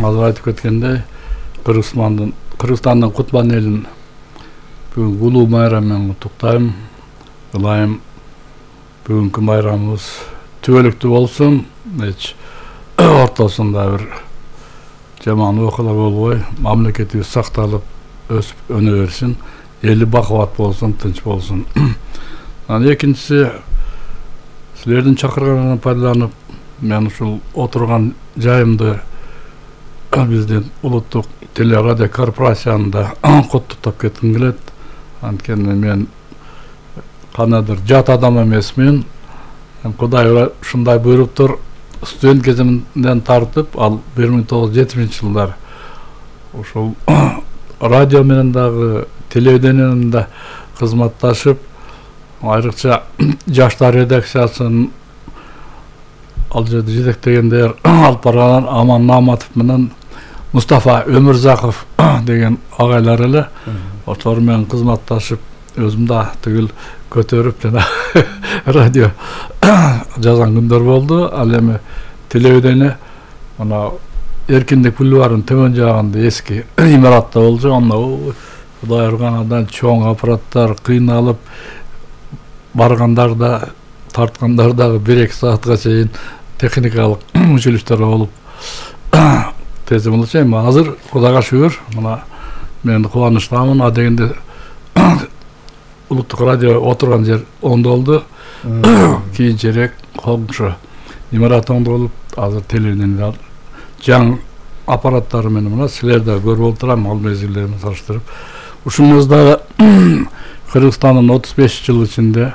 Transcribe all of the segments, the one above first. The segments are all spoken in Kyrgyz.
азыр айтып кеткендей Кыргызстандын Кутман элин бүгүнкү улуу майрам менен куттуктайм. Ылайым бүгүнкү майрамыбыз түбөлүктүү болсун, эч ортосунда бир жаман окуялар болбой, мамлекетибиз сакталып, өсүп өнө берсин, эли бакубат болсун, тынч болсун. Анан экинчиси, силердин чакырганыңардан пайдаланып, мен ушул отурган жайымды биздин улуттук телерадио корпорацияны да куттуктап кетким келет. Анткени мен кандайдыр жат адам эмесмин. Кудай ушундай буйруптур. Студент кезимден тартып, ал 1970-жылдар ушул радио менен дагы телевидениенин да кызматташып, айрыкча жаштар редакциясын ал жерде жетектегендер алып барган Аман Наматов менен Мустафа Өмүрзаков деген агайлар эле. Ошолор менен кызматташып, өзүм да тигил көтөрүп жана радио жазган күндөр болду. Ал эми телевидение мына Эркиндик бульварынын төмөн жагында эски имаратта болчу. Анда Кудай урган андан чоң аппараттар кыйналып баргандар да, тарткандар дагы 1-2 саатка чейин техникалык үзүлүштөр болуп тезим болчу. Эми азыр Кудайга шүгүр, мына мен кубанычтамын. А дегенде улуттук радио отурган жер оңдолду. Кийинчерээк коңшу имарат оңдолуп, азыр телевидение жаңы аппараттары менен мына силер да көрүп отурам, ал мезгилдерин салыштырып. Ушунубуз дагы Кыргызстандын 35 жыл ичинде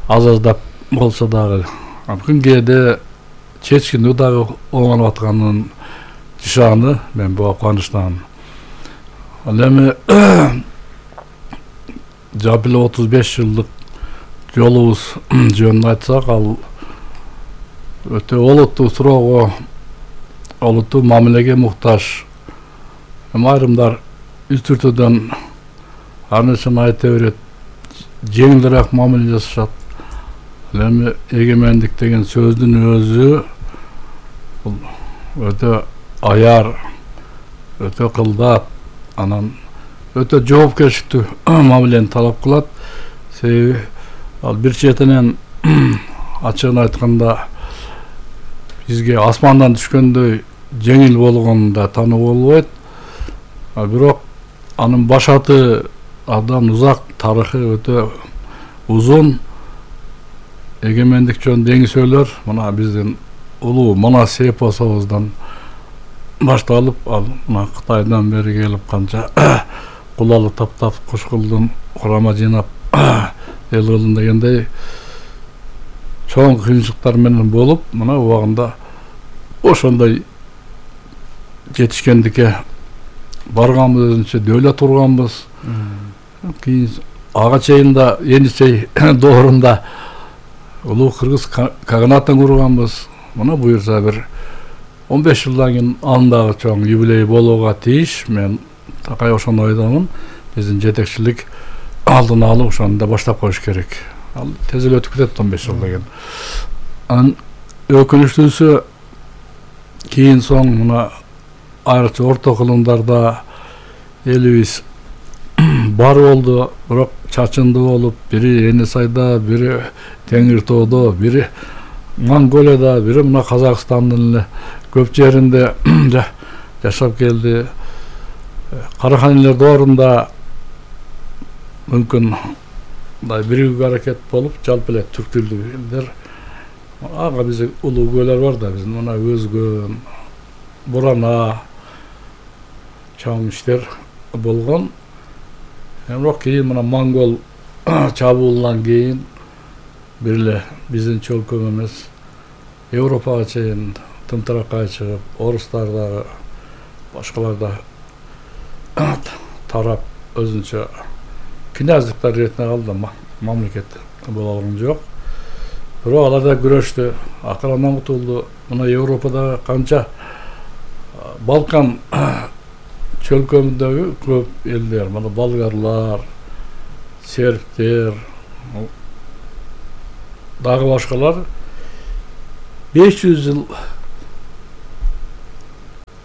аз-аздап болсо дагы күнгейде чечкиндүү дагы оңолуп атканын жашаганы мен буга кубанычтамын. Ал эми жапыл 35 жылдык жолубуз жөнүндө айтсак, ал өтө олуттуу суроого, олуттуу мамилеге муктаж. Айрымдар үстүртөдөн ар нерсени айта берет, жеңилирээк мамиле жасашат. Ал эми эгемендик деген сөздүн өзү өтө аяр, өтө кылдат, анан өтө жоопкерчиликтүү мамилени талап кылат. Себеби ал бир четинен ачыгын айтканда бизге асмандан түшкөндөй жеңил болгонун да таанууга болбойт. Бирок анын башаты абдан узак, тарыхы өтө узун. Эгемендик жөнүндө эңисөөлөр мына биздин улуу Манас эпосубуздан башталып, ал мына Кытайдан бери келип канча кулалы таптап куш кылдым, курама жыйнап эл кылдым дегендей чоң кыйынчылыктар менен болуп, мына убагында ошондой жетишкендикке барганбыз, өзүнчө дөөлөт курганбыз. Кийин ага чейин да Енисей доорунда улуу кыргыз каганатын курганбыз. Мына буюрса бир 15 жылдан кийин анын дагы чоң юбилей болууга тийиш. Мен такай ошону ойдомун. Биздин жетекчилик алдын алып ошону да баштап коюш керек. Ал тез эле өтүп кетет 15 жылдан кийин. Анын өкүнүчтүүсү кийин соң мына айрыкча орто кылымдарда элибиз бар болду, бирок чачынды болуп, бири Енисайда, бири Теңир тоодо, бири Монголияда, бири мына Казакстандын эле көп жеринде жашап келди. Караханилер доорунда мүмкүн мындай биригүү аракет болуп, жалпы эле түрк тилдүү элдер ага биздин улуу көөлөр бар да, биздин мына Өзгөн, Бурана чоң иштер болгон. Бирок кийин мына монгол чабуулунан кийин бир эле биздин чөлкөм эмес, Европага чейин тымтыракка чыгып, орустар дагы башкалар да тарап өзүнчө князьдыктар иретине калды, мамлекет боло алган жок. Бирок алар да күрөштү, акырындан кутулду. Мына Европада канча Балкан чөлкөмүндөгү көп элдер, мына болгарлар, сербтер, дагы башкалар 500 жыл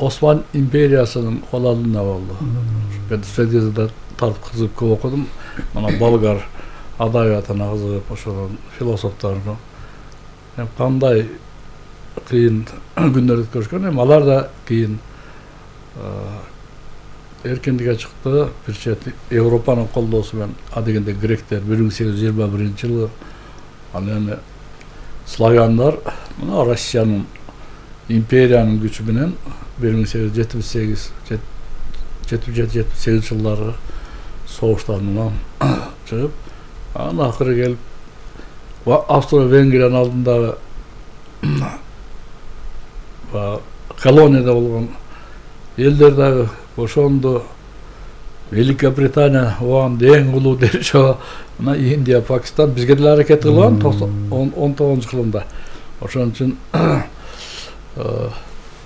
Osman империясынын колалына болду. Мен Средизада тартып кызык көп окудум. Мына болгар адабиятына кызыгып, ошол философторду. Кандай кыйын күндөр өткөрүшкөн, эми алар да кийин эркиндикке чыкты. Бир чет Европанын колдоосу менен адегенде гректер 1821-жылы, ал эми славяндар мына Россиянын империянын күчү менен 1878-78 жылдары согуштарынан чыгып, анан акыры келип Австро-Венгриянын алдындагы колонияда болгон элдер дагы ошондо. Великая Британия оған эң улуу держава. Мына Индия, Пакистан бизге деле аракет кылган 19-жылында. Ошон үчүн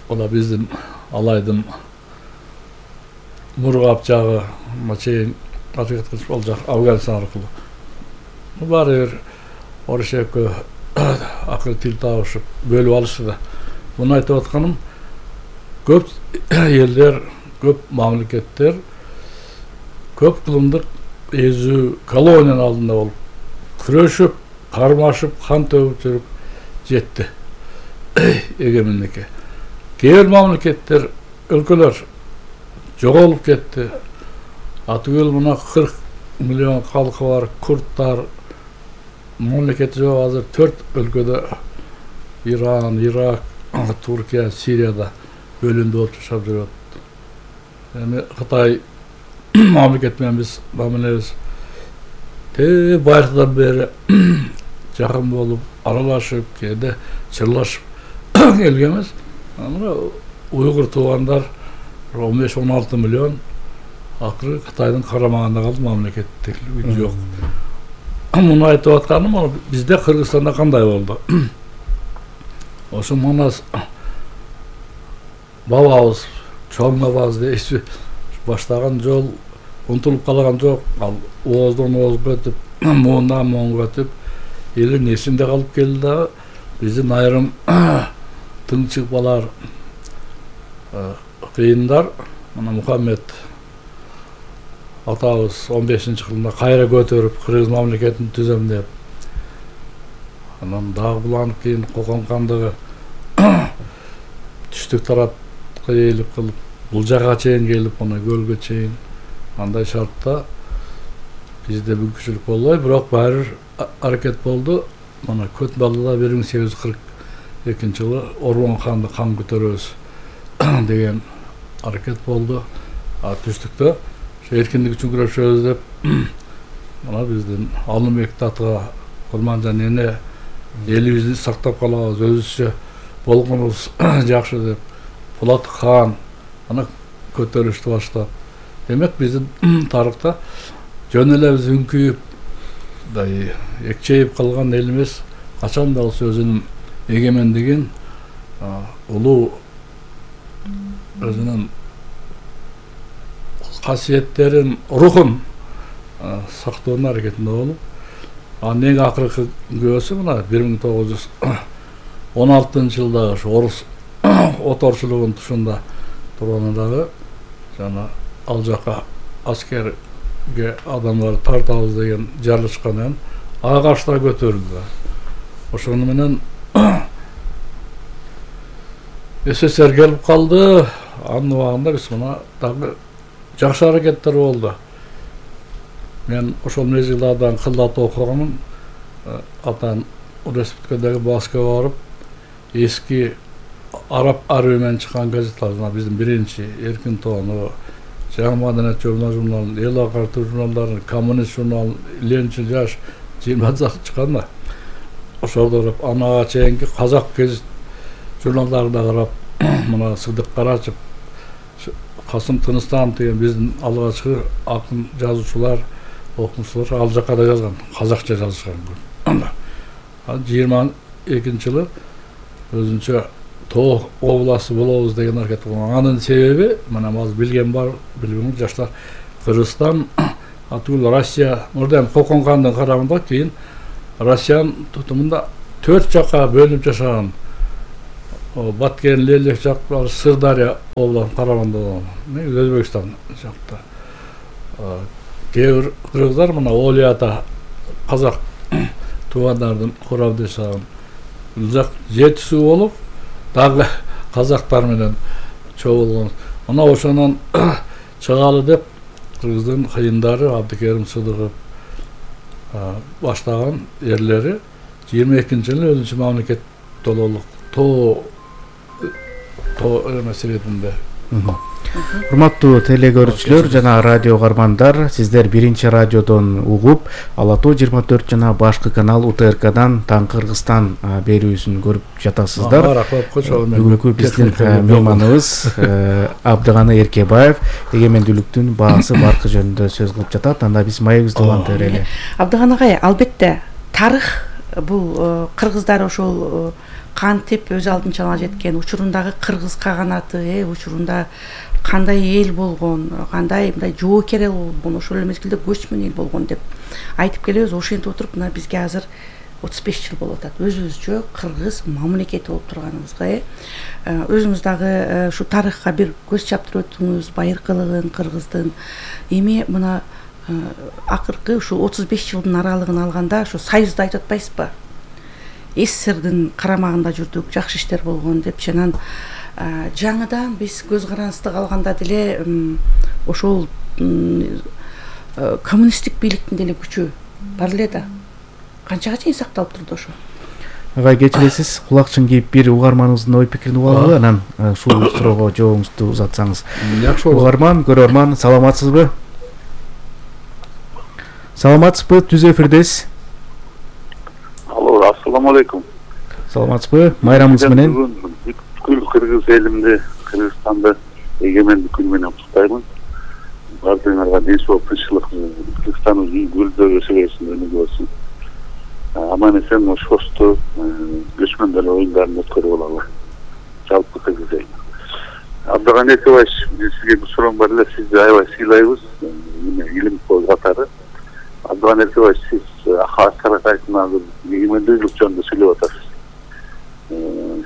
ола биздин алайдын мургап жагы чейин аракет кылып ал жак Афганистан аркылуу. Баары бир орус экөө акыры тил табышып бөлүп алышты да. Муну айтып атканым, көп элдер, көп мамлекеттер көп кылымдык эзүү колониянын алдында болуп, күрөшүп, кармашып, кан төгүп жүрүп жетти эгемендикке. Кээ бир мамлекеттер, өлкөлөр жоголуп кетти. Атүгүл мына 40 миллион калкы бар курдтар мамлекети жок. Азыр 4 өлкөдө Иран, Ирак, Туркия, Сирияда бөлүндү болуп жашап жүрөт. Эми Кытай мамлекет менен биз мамилебиз байыртадан бери жакын болуп, аралашып, кээде чырлашып келгенбиз. Мына уйгур туугандар 15-16 миллион акыры Кытайдын карамагында калды, мамлекеттик жок. Муну айтып атканым, бизде Кыргызстанда кандай болду? Ошо Манас бабабыз, чоң бабабыз дейсиз, баштаган жол унутулуп калган жок. Ал ооздон оозго өтүп, муундан муунга өтүп, элин эсинде калып келди да, биздин айрым тыңчык балар, кыйындар, мына Мухаммед атабыз 15-жылында кайра көтөрүп, Кыргыз мамлекетин түзөм деп, анан дагы буланып кийин Кокон хандыгы түштүк тарапка ээлип кылып, бул жака чейин келип, мына көлгө чейин андай шартта бизде мүмкүнчүлүк болбой, бирок баары аракет болду. Мына Көтбалыда 1842-жылы Ормон ханды кан көтөрөбүз деген аракет болду. Түштүктө эркиндик үчүн күрөшөбүз деп, мына биздин Алымбек Татыга Курманжан эне элибизди сактап калабыз, өзүбүзчө болгонубуз жакшы деп, Булат хан ана көтөрүштү баштап. Демек биздин тарыхта жөн эле биз үңкүйүп, экчейип калган эл эмес, качан да болсо өзүнүн эгемендигин, улуу өзүнүн касиеттерин, рухун сактоонун аракетинде болуп, анын эң акыркы күбөсү мына 1916-жылдагы орус оторчулугунун тушунда тургандагы жана ал жака аскерге адамдар тартабыз деген жарылышкан агашта көтөрүлдү. Ошону менен СССР келип калды. Анын убагында биз мына дагы жакшы аракеттер болду. Мен ошол мезгилдардан кылдат окуганмын. Атан республикадагы Москвага барып, эски араб арабы менен чыккан газеттер, биздин биринчи Эркин Тоону, Жаңы Маданият журналын, Эл Агартуу журналдарын, Коммунист журналын, Ленинчил жаш 20 чыккан да. Ошолду карап, анага чейинки казак гезит журналдарына карап, мына Сыдык Карачев, Касым Тыныстанов деген биздин алгачкы акын жазуучулар, окумуштуулар ал жакка да жазган, казакча жазышкан. 22-жылы өзүнчө Тоо областы болобуз деген аракет кылган. Анын себеби, мына азыр билген бар, билбеген жаштар, Кыргызстан атүгүл Россия, мурда Кокон хандын карамында, кийин Россиянын тутумунда 4 жакка бөлүнүп жашаган. Баткен, Лелек жактары, Сырдария областын Караганда болгон. Өзбекстан жакта. Кээ бир кыргыздар мына Олията казак туугандардын курабдашагын жак жетисүү болуп, дагы казактар менен чогулгон. Мына ошонун чыгалы деп кыргыздын кыйындары Абдыкерим Сыдыков баштаган эрлери 22-жылы өзүнчө мамлекет тололук тоо маселесинде. Урматтуу телегөрүүчүлөр жана радио кармандар, сиздер биринчи радиодон угуп, Ала Тоо 24 жана башкы канал УТРКдан Таң Кыргызстан берүүсүн көрүп жатасыздар. Бүгүнкү биздин мейманыбыз Абдыганы Эркебаев эгемендүүлүктүн баасы баркы жөнүндө сөз кылып жатат. Анда биз маегибизди уланта берели. Абдыган агай, албетте тарых бул кыргыздар ошол кантип өз алдынча ала жеткен, учурундагы кыргыз каганаты, учурунда кандай эл болгон, кандай мындай жоокер эл болгон, ошол эле мезгилде көчмөн эл болгон деп айтып келебиз. Ошентип отуруп, мына бизге азыр 35 жыл болуп атат. Өзүбүзчө кыргыз мамлекети болуп турганыбызга, өзүңүз дагы ушу тарыхка бир көз чаптырып өттүңүз, байыркылыгын кыргыздын. Эми мына акыркы ушу 35 жылдын аралыгын алганда ушу союзду айтып атпайсызбы? СССРдин карамагында жүрдүк, жакшы иштер болгон деп, жанан жаңыдан биз көз карандысты алганда деле ошол коммунисттик бийликтин деле күчү бар эле да. Канчага чейин сакталып турду ошо? Агай, кечиресиз, кулакчын кийип бир угарманыбыздын ой пикирин угуп алалы, анан ушул суроого жообуңузду узатсаңыз. Жакшы болот. Угарман, көрөрман, саламатсызбы? Саламатсызбы? Түз эфирдесиз. Алло, ассаламу алейкум. Саламатсызбы? Майрамыңыз менен. Бүткүл кыргыз элимди, Кыргызстанды эгемендик күнү менен куттуктаймын. Бардыгыңарга ден соолук, тынччылык, Кыргызстандын гүлдөө өсө берсин, өнүгө берсин. Аман эсен ошосту көчмөндөр оюндарын өткөрүп алалы. Жалпы кыргыз эл. Абдыган Эркебаевич, сизге бир суроом бар эле, сизди аябай сыйлайбыз. Илим катары. Абдыган Эркебаевич, сиз Аскар Акаевдин азыр эгемендүүлүк жөнүндө сүйлөп атасыз.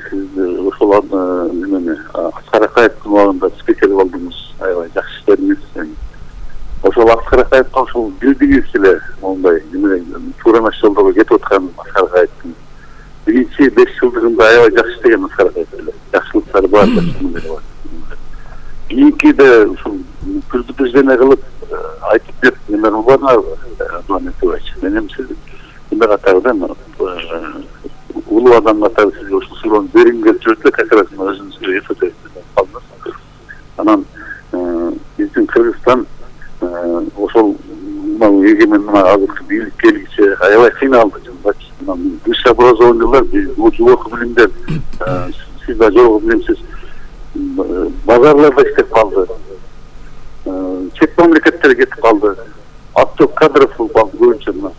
Сиз ошол Аскар Акаевдин убагында спикер болдуңуз, аябай жакшы иштериңиз. Ошол Аскар Акаевдин ошол билдиңиз эле, мондай туура эмес жолдорго кетип аткан Аскар Акаевдин биринчи 5 жылдыгында аябай жакшы иштеген Аскар Акаев эле. Жакшылыктары бар, жакшылыктары бар. Кийинкиде ушул күздү кылып айтып берип неме кылбадыңарбы, Абдыган Эркебаевич? Менин сиз эмне катардан улуу адам катары сизге ушул суроonu бергим келип жүрүп эле, как раз өзүңүзгө эфирде калдыңыз. Анан биздин Кыргызстан ошол эгемен азыркы бийлик келгиче аябай кыйналды. Высшее образованиялар, жогорку билимдер, сиз да жогорку билимсиз, базарларда иштеп калды. Чет мамлекеттерге кетип калды. Отток кадров көбүнчө мына.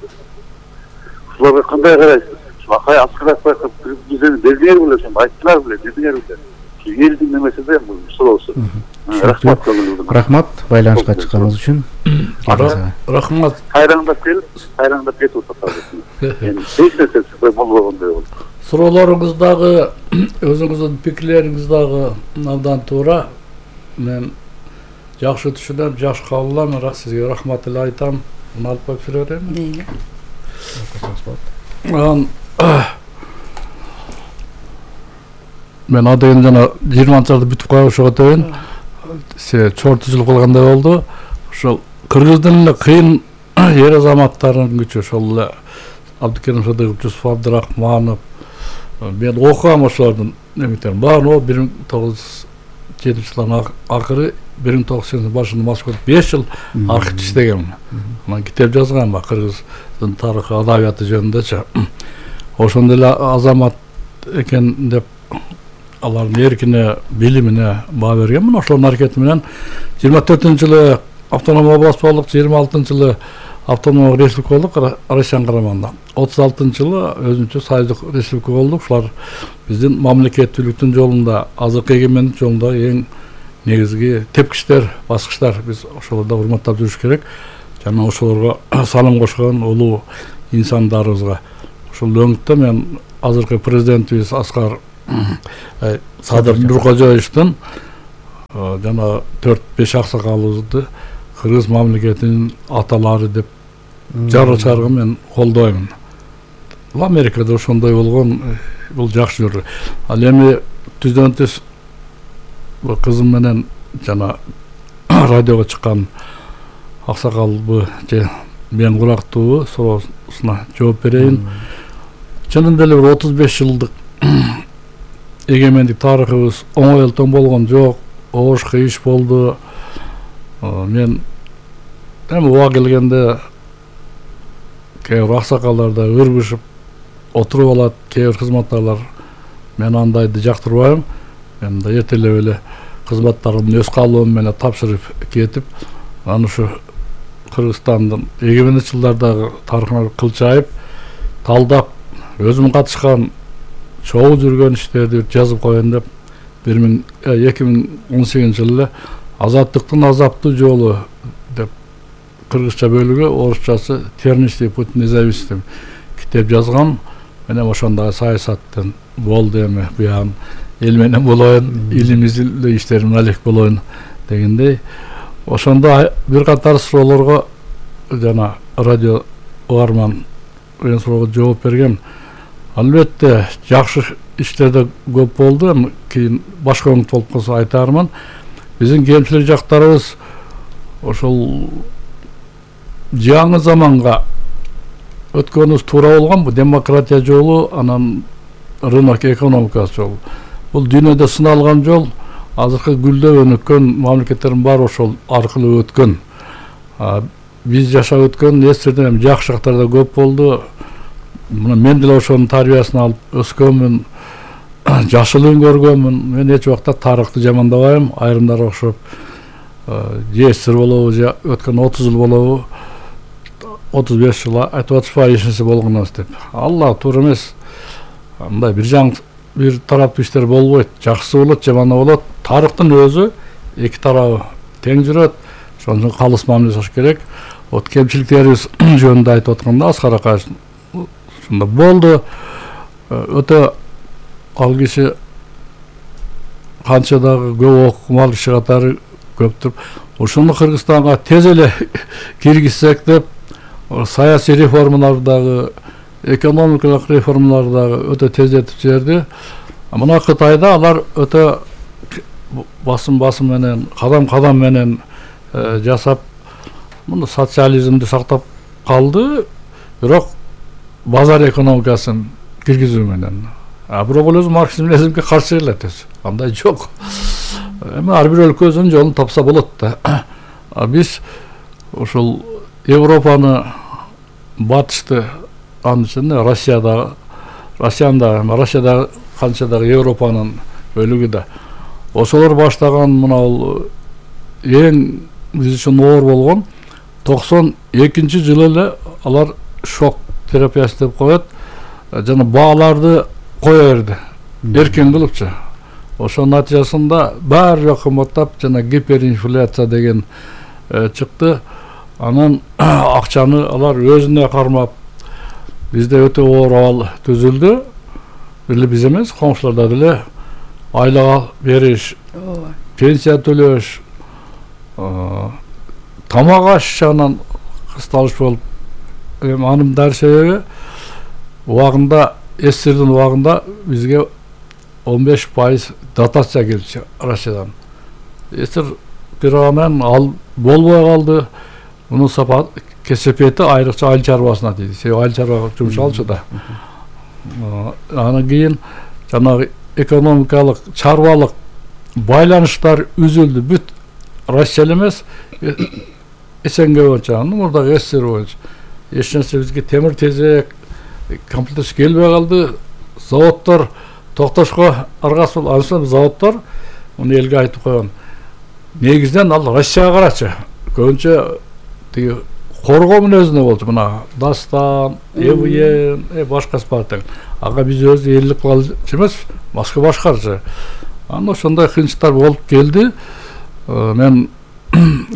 Ушуларга кандай карайсыз? Акай Аскар Акаев бизди белгилер беле, айттылар беле, дедиңер беле. Элдин немеси да суроосу. Рахмат байланышка чыкканыңыз үчүн. Рахмат. Кайраңдап кетип атат. Эч нерсе болбогондой болду. Суроолоруңуз дагы, өзүңүздүн пикирлериңиз дагы абдан туура. Мен жакшы түшүнөм, жакшы кабыл алам, бирок сизге рахмат эле айтам. Муну алып коюп жүрө берейинби? Мен адайын жана 20-жылда бүтүп калып ошого дейин чорты жыл калгандай болду. Ошол кыргыздын эле кыйын эр азаматтарынын күчү, ошол эле Абдыкерим Сыдыков, Жусуп Абдрахманов, мен окугам ошолордун неметтерин баарын. 1907-жылдын акыры, 1980 башында Москвада 5 жыл архив иштегем. Анан китеп жазгам кыргыздын тарыхы, адабияты жөнүндөчү. Ошондой эле азамат экен деп алардын эркине, билимине баа бергенмин. Ошонун аракети менен 24-жылы автономия область болдук, 26-жылы автономия республика болдук Россиянын карамагында. 36-жылы өзүнчө союздук республика болдук. Ушулар биздин мамлекеттүүлүктүн жолунда, азыркы эгемендик жолунда эң негизги тепкичтер, баскычтар. Биз ошолорду урматтап жүрүш керек. Жана ошолорго салым кошкон улуу инсандарыбызга. Ошол өңүттө мен азыркы президентибиз Аскар Садыр Нуркожоевичтин жана 4-5 аксакалыбызды кыргыз мамлекетинин аталары деп жара чаргы мен колдоймун. Бул Америкада ошондой болгон, бул жакшы жүрдү. Ал эми түздөн түз кызым менен жана радиого чыккан аксакалбы же мен курактуу суроосуна жооп берейин. Чынында эле 35 жылдык эгемендик тарыхыбыз оңой элтен болгон жок. Оош кыйыш болду. Мен эми уга келгенде кээ бир аксакалдар да ыргышып отуруп алат, кээ бир кызматтарлар. Мен андайды жактырбайм. Мен да эртелеп эле кызматтарымды өз каалоом менен тапшырып кетип, аны ушу Кыргызстандын эгемендик жылдардагы тарыхына кылчайып, талдап, өзүм катышкан чогуу жүргөн иштерди жазып коеюн деп 2018 жылы азаттыктын азаптуу жолу деп кыргызча бөлүгү, орусчасы Тернистый путь независимости китеп жазган. Мен ошондой саясаттын болду эми буягын эл менен болоюн, илимизде иштерим алек болоюн дегендей. Ошондо бир катар суроолорго жана радио угарман мен суроого жооп берген. Албетте жакшы иштерде көп болду. Кийин башка оңут болуп калса айтармын. Биздин кемчилик жактарыбыз ошол жаңы заманга өткөнүбүз туура болгон. Бул демократия жолу, анан рынок экономикасы жолу. Бул дүйнөдө сыналган жол. Азыркы гүлдөп өнүккөн мамлекеттердин баары ошол аркылуу өткөн. Биз жашап өткөн эстерден жакшы жактар да көп болду. Мен деле ошонун тарбиясын алып өскөнмүн, жашылыгын көргөнмүн. Мен эч убакта тарыхты жамандабайм. Айрымдар окшоп жесир болобу же өткөн 30 жыл болобу, 35 жыл айтып атышпайбы эчинеси болгонбуз деп. Алла туура эмес. Андай бир тараптуу иштер болбойт. Жакшысы болот, жаманы болот. Тарыхтын өзү эки тарабы тең жүрөт. Ошон үчүн калыс мамиле жасаш керек. Вот кемчиликтерибиз жөнүндө айтып атканда Аскар акаевич ушунда болду. Өтө ал киши канча дагы көп окумал киши катары көптүр. Ошону Кыргызстанга тез эле киргизсек деп саясий реформалардагы, экономикалык реформалардагы өтө тездетип жиберди. Мына Кытайда алар өтө басым менен, кадам менен жасап, мына социализмди сактап калды, бирок базар экономикасын киргизүү менен. Бирок ол өзү марксизм-ленинизмге каршы келет. Андай жок. Эми ар бир өлкө өзүнүн жолун тапса болот да. Биз ошол Европаны, батышты, анын ичинде Россияда канча дагы Европанын бөлүгү да. Ошолор баштаган мына эң биз үчүн оор болгон 92-жылы эле алар шок терапиясы деп коет. Жана бааларды кое берди. Эркен кылыпчы. Ошонун натыйжасында баары жок кымбаттап, жана гиперинфляция деген чыкты. Анан акчаны алар өзүнө кармап, бизде өтө оор абал түзүлдү. Били биз эмес, коңшуларда деле айлага бериш, пенсия төлөш, тамак аш жагынан кысталыш болуп, анын дары себеби убагында СССРдин убагында бизге 15% дотация келчү Россиядан. СССР бироган ал болбой калды. Мунун кесепети айрыкча айыл чарбасына тийди. Себеби айыл чарба жумшалчу да. Анан кийин жанагы экономикалык, чарбалык байланыштар үзүлдү. Бүт Россия эмес, СНГ боюнча, мурдагы СССР боюнча. Эч нерсе бизге темир тезек, комплектер келбей калды. Заводдор токтошко аргасы болуп, анысы заводдор муну элге айтып койгон. Негизден ал Россияга карачы. Көбүнчө тиги коргоо мүнөзүнө болчу. Мына Дастан, ЭВН, башкасы бар тең. Ага биз өз элдик кылчу эмес, башка башкарчы. Анан ошондой кыйынчылыктар болуп келди. Мен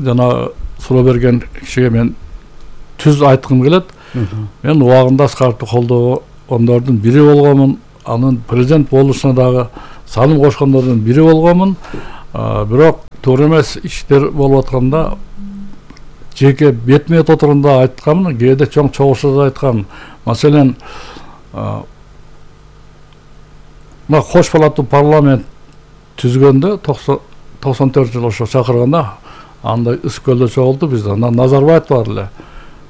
жана суроо берген кишиге мен түз айткым келет. Мен убагында Аскаровду колдогондордун бири болгонмун. анын президент болушуна дагы салым кошкондордун бири болгонмун. Бирок туура эмес иштер болуп атканда жеке бетме отурумда айтканмын, кээде чоң чогулушда айткам. Маселен, мына кош палаттуу парламент түзгөндө 94 ошо чакырганда андай Ысык-Көлдө чогулду бизде. Анан Назарбаев бар эле.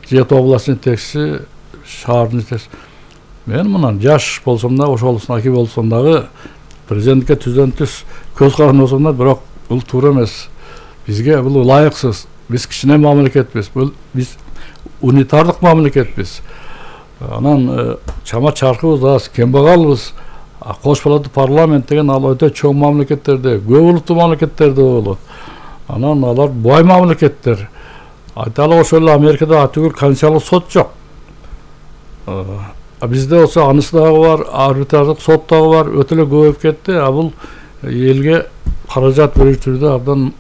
Жети областын жетекчиси, шаардын жетекчиси. Мен мындан жаш болсом да, ошолусун аки болсом дагы президентке түздөн түз көз каранды болсом да, бирок бул туура эмес. Бизге бул ылайыксыз. Биз кичине мамлекетпиз. Биз унитардык мамлекетпиз. Анан чама чаркыбыз аз, кембагалбыз. Кош палаттуу парламент деген ал өтө чоң мамлекеттерде, көп улуттуу мамлекеттерде болот. Анан алар бай мамлекеттер. Айталы ошол эле Америкада атүгүл конституциялык сот жок. Бизде болсо анысы дагы бар, арбитраждык сот дагы бар, өтө эле көбөйүп кетти. Бул элге каражат бөлүштүрүүдө абдан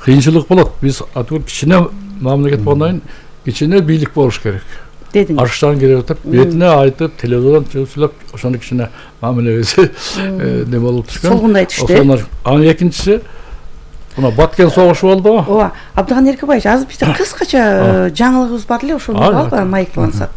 кыйынчылык болот. Биз атүгүл кичине мамлекет болгондон кийин кичине бийлик болуш керек. Дедиңиз. Арыштан керек деп, бетине айтып, телевизордон сүйлөп, ошону кичине мамилебеси не болуп түшкөн. Солгундай түштү. Анын экинчиси мына Баткен согушу болду. Ооба, Абдыган Эркебаевич, азыр бизде кыскача жаңылыгыбыз бар эле, ошону алып майыктансак.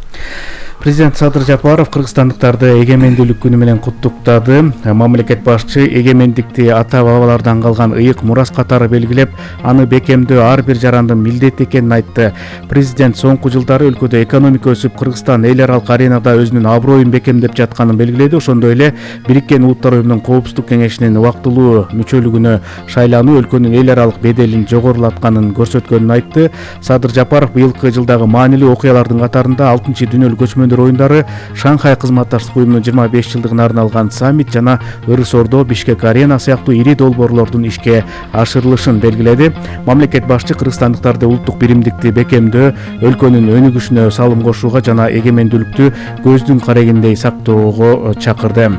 Президент Садыр Жапаров кыргызстандыктарды эгемендүүлүк күнү менен куттуктады. Мамлекет башчы эгемендикти ата-бабалардан калган ыйык мурас катары белгилеп, аны бекемдөө ар бир жарандын милдети экенин айтты. Президент соңку жылдары өлкөдө экономика өсүп, Кыргызстан эл аралык аренада өзүнүн аброюн бекемдеп жатканын белгиледи. Ошондой эле Бириккен Улуттар Уюмунун Коопсуздук кеңешинин убактылуу мүчөлүгүнө шайлануу өлкөнүн эл аралык беделин жогорулатканын көрсөткөнүн айтты. Садыр Жапаров быйылкы жылдагы маанилүү окуялардын катарында 6-дүнөлүк көчмөндөр оюндары, Шанхай кызматташтык уюмунун 25 жылдыгына арналган саммит жана Ырыс Ордо, Бишкек арена сыяктуу ири долбоорлордун ишке ашырылышын белгиледи. Мамлекет башчы кыргызстандыктарды улуттук биримдикти бекемдөө, өлкөнүн өнүгүшүнө салым кошууга жана эгемендүүлүктү көздүн карегиндей сактоого чакырды.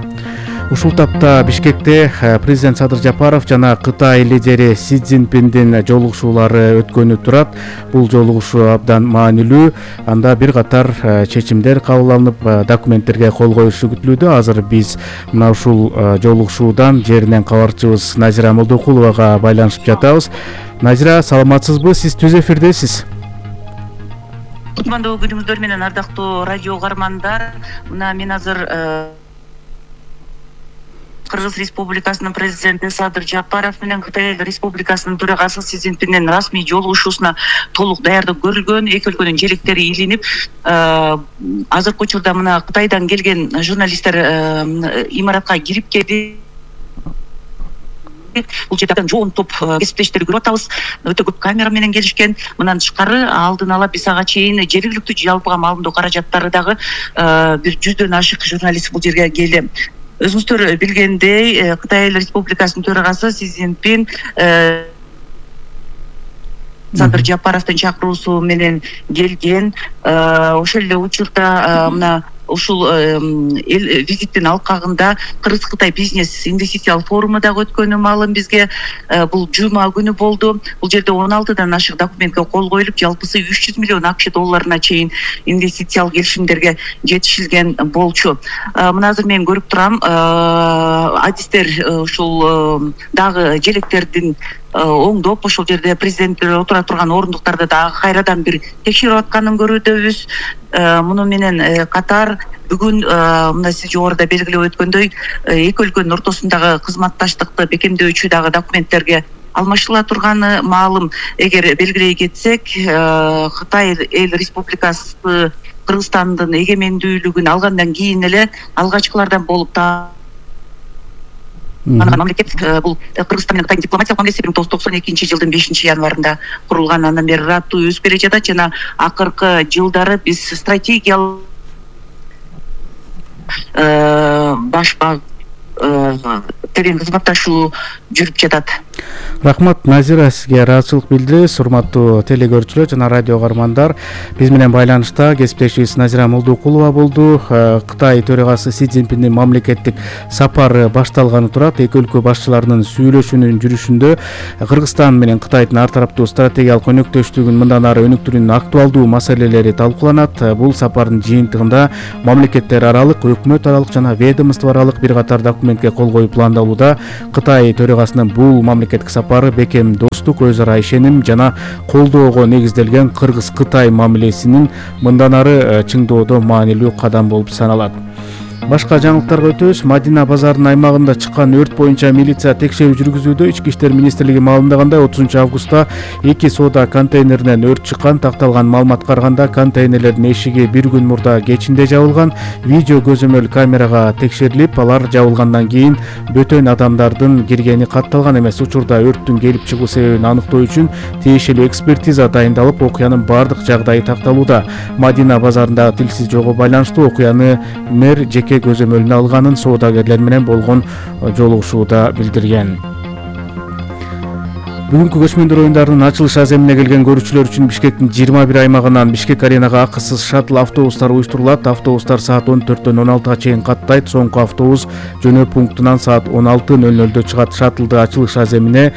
Ушул тапта Бишкекте президент Садыр Жапаров жана Кытай лидери Си Цзиньпиндин жолугушуулары өткөнү турат. Бул жолугушуу абдан маанилүү. Анда бир катар чечимдер кабыл алынып, документтерге кол коюшу күтүлүүдө. Азыр биз мына ушул жолугушуудан жеринен кабарчыбыз Назира Молдокуловага байланышып жатабыз. Назира, саламатсызбы? Сиз түз эфирдесиз. Кутмандуу күнүңүздөр менен ардактуу радио угармандар. Мына мен азыр Кыргыз Республикасынын президенти Садыр Жапаров менен Кытай Республикасынын төрагасы Си Цзиньпиндин расмий жолугушуусуна толук даярдык көрүлгөн. Эки өлкөнүн желектери илинип, азыркы учурда мына Кытайдан келген журналисттер имаратка кирип келди. Бул жерден жоон топ кесиптештерди көрүп атабыз. Өтө көп камера менен келишкен. Мындан тышкары алдын ала биз ага чейин жергиликтүү жалпыга маалымдоо каражаттары дагы бир 100дөн ашык журналист бул жерге келди. Өзүңүздөр билгендей, Кытай Республикасынын төрагасы Си Цзиньпин Садыр Жапаровдун чакыруусу менен келген. Ошол эле учурда мына ушул визиттин алкагында Кыргыз-Кытай бизнес инвестициялык форуму дагы өткөнү маалым бизге. Бул жума күнү болду. Бул жерде 16дан ашык документке кол коюлуп, жалпысы 300 миллион АКШ долларына чейин инвестициялык келишимдерге жетишилген болчу. Мына азыр мен көрүп турам, адистер ушул дагы желектердин оңдоп, ошол жерде президенттер отура турган орундуктарды дагы кайрадан бир текшерип атканын көрүүдөбүз. Муну менен катар бүгүн мына сиз жогоруда белгилеп өткөндөй, эки өлкөнүн ортосундагы кызматташтыкты бекемдөөчү дагы документтерге алмашыла турганы маалым. Эгер белгилей кетсек, Кытай эл республикасы Кыргызстандын эгемендүүлүгүн алгандан кийин эле алгачкылардан болуп мамлекет. Бул Кыргызстан менен Кытайдын дипломатиялык мамилеси 1992 жылдын 5-январында курулган. Андан бери ыраттуу өсүп келе жатат жана акыркы жылдары биз стратегиялык баш терең кызматташуу жүрүп жатат. Рахмат Назира, сизге ыраазычылык билдиребиз. Урматтуу телекөрүүчүлөр жана радио каармандар, биз менен байланышта кесиптешибиз Назира Молдокулова болду. Кытай төрагасы Си Цзиньпиндин мамлекеттик сапары башталганы турат. Эки өлкө башчыларынын сүйлөшүүнүн жүрүшүндө Кыргызстан менен Кытайдын ар тараптуу стратегиялык өнөктөштүгүн мындан ары өнүктүрүүнүн актуалдуу маселелери талкууланат. Бул сапардын жыйынтыгында мамлекеттер аралык, өкмөт аралык жана ведомство аралык бир катар документке кол коюп пландалууда. Кытай төрагасынын бул мамлекеттик сапары бекем достук, өз ара ишеним жана колдоого негизделген Кыргыз-Кытай мамилесинин мындан ары чыңдоодо маанилүү кадам болуп саналат. Башка жаңылыктарга өтөбүз. Мадина базарынын аймагында чыккан өрт боюнча милиция текшерүү жүргүзүүдө. Ички иштер министрлиги маалымдагандай 30 августта 2 соода контейнеринен өрт чыккан. Такталган маалыматка караганда контейнерлердин эшиги бир күн мурда кечинде жабылган. Видео көзөмөл камерага текшерилип, алар жабылгандан кийин бөтөн адамдардын киргени катталган эмес. Учурда өрттүн келип чыгуу себебин аныктоо үчүн тиешелүү экспертиза дайындалып, окуянын бардык жагдайы такталууда. Мадина базарындагы тилсиз жолго байланыштуу окуяны мэр жеке көзөмөлүнө алганын соодагерлер менен болгон жолугушууда билдирген. Бүгүнкү көчмөндөр оюндарынын ачылыш аземине келген көрүүчүлөр үчүн Бишкектин 21 аймагынан Бишкек аренага акысыз шаттл автобустар уюштурулат. Автобустар саат 14-төн 16-га чейин каттайт. Соңку автобус жөнөө пунктунан саат 16:00 чыгат. Шаттлды ачылыш аземине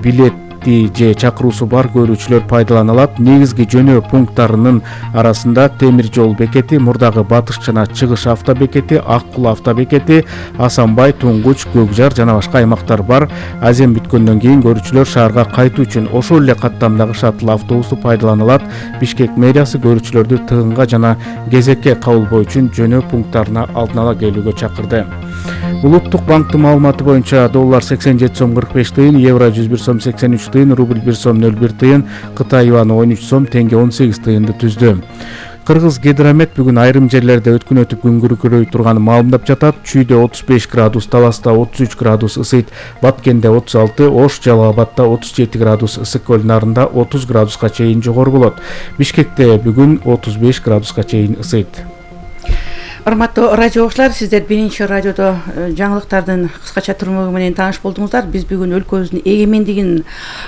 билет же чакыруусу бар көрүүчүлөр пайдалана алат. Негизги жөнөө пункттарынын арасында Темир жол бекети, мурдагы Батыш жана Чыгыш автобекети, Ак Кул автобекети, Асанбай, Туңгуч, Көкжар жана башка аймактар бар. Азем бүткөндөн кийин көрүүчүлөр шаарга кайтуу үчүн ошол эле каттамдагы шаттл автобусту пайдалана алат. Бишкек мэриясы көрүүчүлөрдү тыгынга жана кезекке кабылбоо үчүн жөнөө пункттарына алдын ала келүүгө чакырды. Улуттук банктын маалыматы боюнча доллар 87 сом 45 тыйын, евро 101 сом 83 тыйын, рубль 1 сом 01 тыйын, Кытай юаны 13 сом, теңге 18 тыйынды түздү. Кыргыз гидромет бүгүн айрым жерлерде өткүн өтүп күн күркүрөй турганын маалымдап жатат. Чүйдө 35 градус, Таласта 33 градус ысыйт, Баткенде 36, Ош, Жалал Абадта 37 градус, Ысык көл нарында 30 градуска чейин жогору болот. Бишкекте бүгүн 35 градуска чейин ысыйт. Урматтуу радио окуучулар, сиздер биринчи радиодо жаңылыктардын кыскача түрмөгү менен тааныш болдуңуздар. Биз бүгүн өлкөбүздүн эгемендигин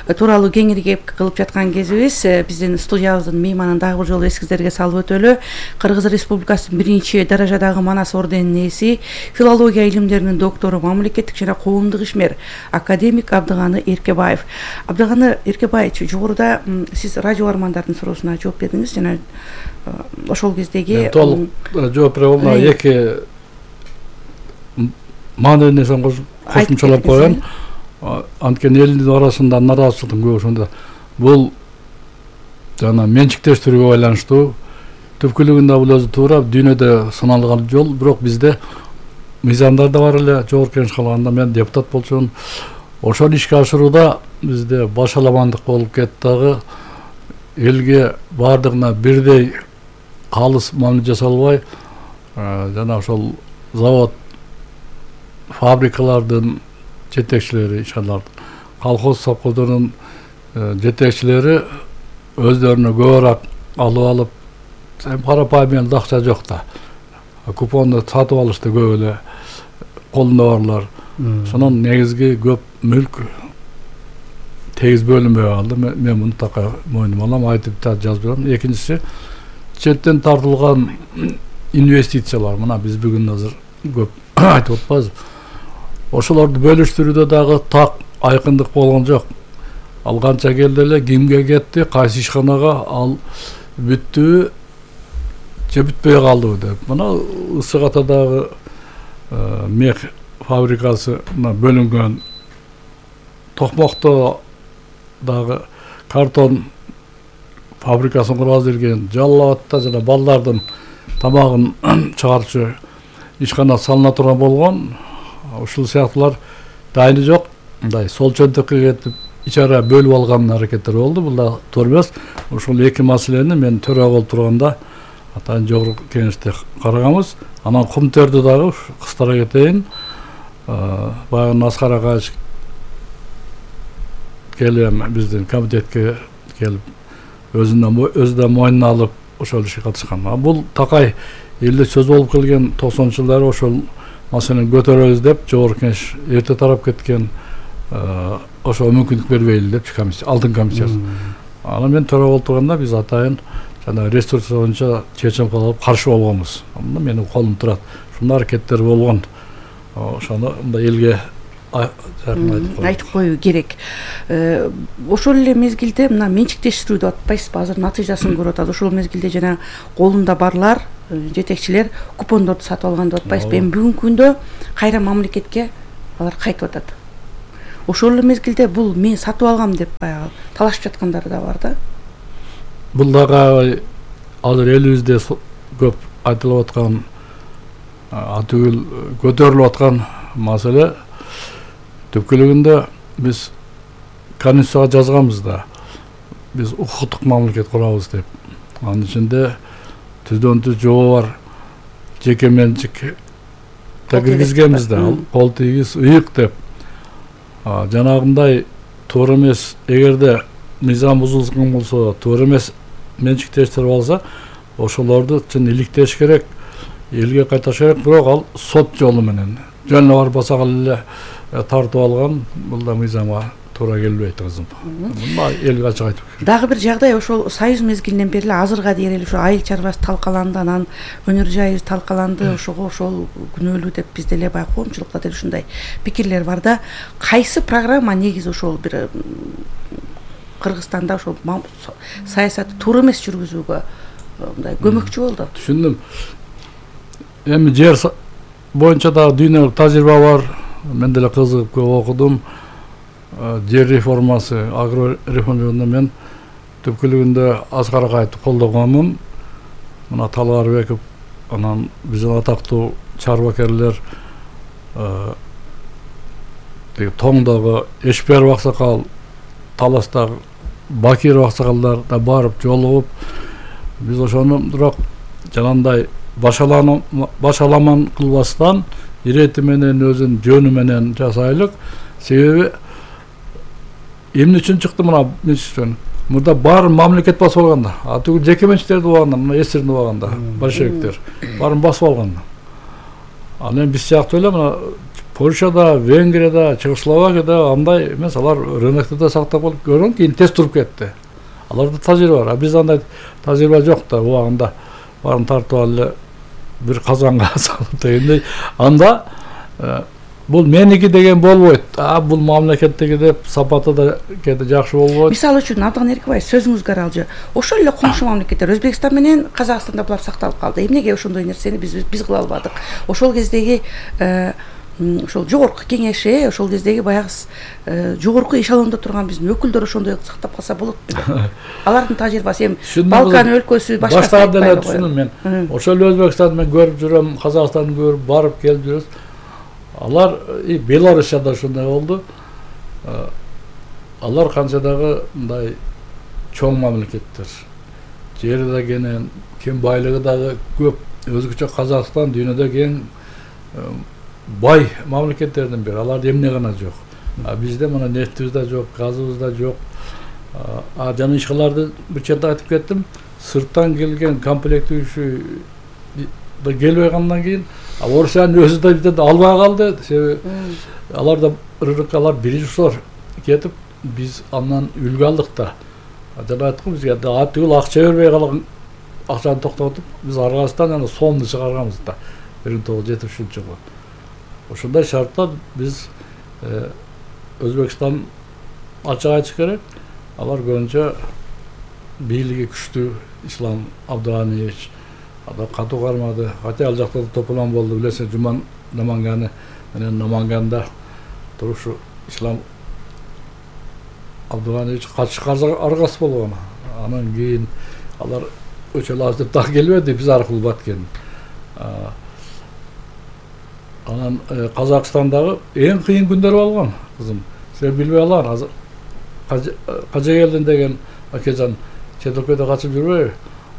тууралуу кеңири кеп кылып жаткан кезибиз. Биздин студиябыздын мейманын дагы бир жолу эсиңиздерге салып өтөлү. Кыргыз Республикасынын биринчи даражадагы Манас орденинин ээси, филология илимдеринин доктору, мамлекеттик жана коомдук ишмер академик Абдыганы Эркебаев. Абдыганы Эркебаевич, жогоруда сиз радио армандардын суроосуна жооп бердиңиз жана ошол кездеги толук жооп бере албайм. Эки маанилүү нерсени кошумчалап коеюн. Анткени элдин арасында нараазычылыктын көбүсүндө бул жана менчиктештирүүгө байланыштуу. Түпкүлүгүндө бул өзү туура, дүйнөдө сыналган жол, бирок бизде мыйзамдар да бар эле. Жогорку Кеңеш калганда мен депутат болчумун. Ошол ишке ашырууда бизде башаламандык болуп кетти дагы. Элге бардыгына бирдей калыс мамиле жасалбай, жана ошол завод, фабрикалардын жетекчилери, ишаналардын, колхоз совхоздордун жетекчилери өздөрүнө көбүрөөк алып алып, карапайым акча жок да. Купонду сатып алышты көп эле колунда барлар. Сонун негизги көп мүлк тегиз бөлүнбөй калды. Мен муну така мойнума алам, айтып да жазып берем. Экинчиси, четтен тартылган инвестициялар. Мына биз бүгүн азыр көп айтып атпайбыз. Ошолорду бөлүштүрүүдө дагы так айкындык болгон жок. Ал канча келди эле, кимге кетти, кайсы ишканага, ал бүттүбү же бүтпөй калдыбы деп. Мына Ысык Атадагы мех фабрикасына бөлүнгөн, Токмокто дагы картон фабрикасын кургаз берген, Жалал Абадта жана балдардын тамагын чыгарчу ишкана салына турган болгон. Ушул сыяктуулар дайыны жок. Мындай сол чөнтөккө кетип ичара бөлүп алган аракеттер болду. Бул да туура эмес. Ушул эки маселени мен төрага болуп турганда атайын жогорку кеңеште караганбыз. Анан кумтерди дагы кыстара кетейин. Баягы Аскар Акаевич келип биздин комитетке келип өзүнө мойнуна алып ошол ишке катышкан. Бул такай элде сөз болуп келген 90-жылдары ошол маселени көтөрөбүз деп жогорку кеңеш эрте тарап кеткен. Ошого мүмкүндүк бербейли деп комиссия, алдын комиссиясы. Аны мен төрага болуп турганда биз атайын жана ресурс боюнча чечим кабыл алып каршы болгонбуз. Анда менин колум турат. Ушундай аракеттер болгон. Ошону мындай элге айтып коюу керек. Ошол эле мезгилде мына менчиктештирүү деп атпайсызбы, азыр натыйжасын көрүп атат. Ошол мезгилде жана колунда барлар, жетекчилер купондорду сатып алган деп атпайсызбы. Эми бүгүнкү күндө кайра мамлекетке алар кайтып атат. Ошол эле мезгилде бул мен сатып алгам деп баягы талашып жаткандары да бар да. Бул дагы азыр элибизде көп айтылып аткан, атүгүл көтөрүлүп аткан маселе. Түпкүлүгүндө биз Конституцияга жазганбыз да, биз укуктук мамлекет курабыз деп. Анын ичинде түздөн түз жобо бар, жеке менчик киргизгенбиз да, кол тийгиз, ыйык деп. Жанагындай туура эмес, эгерде мыйзам бузулган болсо, туура эмес менчиктештирип алса, ошолорду чын иликтеш керек, элге кайтарыш керек, бирок ал сот жолу менен. Жөн эле барбаса эле тартып алган, бул да мыйзамга туура келбейт кызым. Мына элге ачык айтып керек. Дагы бир жагдай, ошол союз мезгилинен бери эле азырга дейин эле ошо айыл чарбасы талкаланды, анан өнөр жайы талкаланды, ошого ошол күнөөлүү деп бизде эле баягы коомчулукта деле ушундай пикирлер бар да. Кайсы программа негизи ошол бир Кыргызстанда ошол саясатты туура эмес жүргүзүүгө мындай көмөкчү болду? Түшүндүм. Эми жер боюнча да дүйнөлүк тажрыйба бар. Мен деле кызыгып көп окудум. Жер реформасы, агро реформасында мен түпкүлүгүндө Аскар Акаевди колдогонмун. Мына Талгарбеков, анан биздин атактуу чарбакерлер, Тоңдогу Эшперов аксакал, Таластагы Бакиров аксакалдар да барып жолугуп, биз ошону бирок жанагындай башаламан кылбастан ирети менен өзүнүн жөнү менен жасайлык. Себеби эмне үчүн чыкты мына менчиктен? Мурда бар мамлекет басып алганда, атүгүл жеке менчиктерди убаганда, мына эсирин убаганда, большевиктер баарын басып алганда. Анан биз сыяктуу эле мына Польшада, Венгрияда, Чехословакияда андай эмес, алар рынокто да сактап алып көргөн, кийин тез туруп кетти. Аларда тажрыйба бар, а бизде андай тажрыйба жок да, убагында баарын тартып алып бир казанга салып дегендей. Анда бул меники деген болбойт. Бул мамлекеттеги деп сапаты да кете жакшы болбойт. Мисалы үчүн Абдан Эркебаев сөзүңүзгө аралжы. Ошол эле коңшу мамлекеттер Өзбекстан менен Казакстанда булар сакталып калды. Эмнеге ошондой нерсени биз кыла албадык? Ошол кездеги ошол жогорку кеңеши, ошол кездеги баягы жогорку эшелондо турган биздин өкүлдөр ошондой сактап калса болот беле? Алардын тажрыйбасы эми Балкан өлкөсү башка баштардан түшүндүм мен. Ошол Өзбекстанды мен көрүп жүрөм, Казакстанды көрүп барып келип жүрөбүз. Алар Белоруссияда ошондой болду. Алар канча дагы мындай чоң мамлекеттер. Жери да кең байлыгы дагы көп. Өзгөчө Казакстан дүйнөдө кең бай мамлекеттердин бири. Аларда эмне гана жок. Бизде мына нефтибиз да жок, газыбыз да жок. Жана ишкаларды бир черде айтып кеттим. Сырттан келген комплектүүчү да келбей калгандан кийин Орусиянын өзү да бизден албай калды. Себеби аларда рынокалар биринчи кетип, биз андан үлгү алдык да. Жана айттым, бизге атүгүл акча бербей калган акчаны токтотуп, биз аргасынан аны сомду чыгарганбыз да 1973-жылы. Ошондой шартта биз Өзбекстан ачык айтыш керек, алар көбүнчө бийлиги күчтүү Ислам Абдыганиевич ада катуу кармады. Хотя ал жакта тополон болду, билесиң, Жуман Наманганы менен Наманганда турушу Ислам Абдыганиевич аргасы болгон. Анан кийин алар өчөлөбүз деп так келбеди, биз аркылуу баткен. Анан Казакстандагы эң кыйын күндөр болгон, кызым. Сен билбей алар, азыр Кажегелдин деген акежан чет өлкөдө качып жүрбөйбү?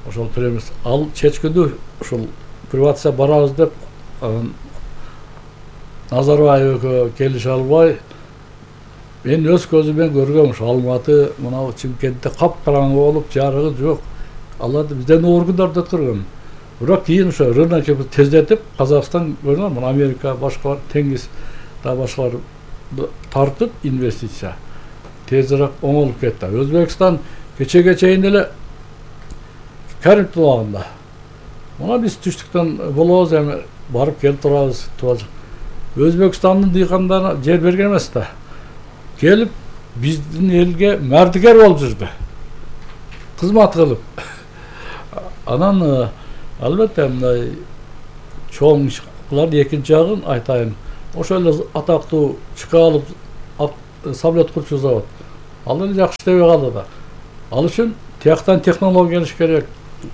Ошол премьер ал чечкүндү ушул приватизация барабыз деп Назарбаев экөө келише албай, мен өз көзүмөн көргөм, ушу Алматы, мына Чымкентте капкараңгы болуп, жарыгы жок. Аларды бизден оор күндөрдү өткөргөн. Бирок кийин ошо рынокты тездетип Казакстан көрүнөт, мына Америка, башкалар, Теңиз да башкалар тартып инвестиция тезирээк оңолуп кетти. Өзбекстан кечеге чейин эле Кариб тулагында. Мына биз түштүктөн болобуз, эми барып келип турабыз. Өзбекстандын дыйкандарына жер берген эмес да. Келип биздин элге мардыгер болуп жүрдү. Кызмат кылып. Анан албетте мындай чоң ишкалардын экинчи жагын айтайын. Ошол эле атактуу Чкалов самолет курчу завод. Ал эле жакшы иштебей калды да. Ал үчүн тияктан технология келиш керек.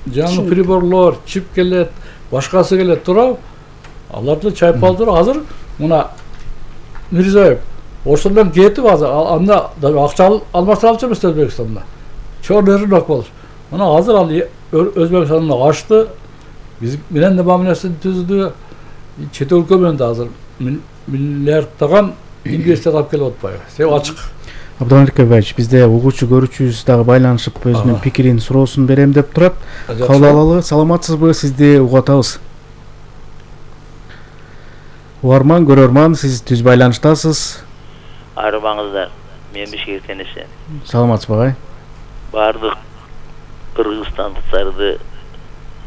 Жаңы приборлор, чип келет, башкасы келет, туурабы? Аларды чайпалып туруп, азыр мына Мирзиёев ошондон кетип азыр анда акча алмаштыралчу эмес Өзбекстанда. Чоң рынок болуш. Мына азыр ал Өзбекстанда ачты, биз менен де мамилесин түздү. Чет өлкө менен да азыр миллиарддаган инвестиция алып келип атпайбы? Себеп ачык. Абдулла Эркебаевич, бизде угуучу көрүүчүбүз дагы байланышып өзүнүн пикирин, суроосун берем деп турат. Кабыл алалы. Саламатсызбы? Сизди угуп атабыз. Угарман, көрөрман, сиз түз байланыштасыз. Арыбаңыздар. Мен Бишкектен эсен. Саламатсызбы агай? Бардык кыргызстандыктарды,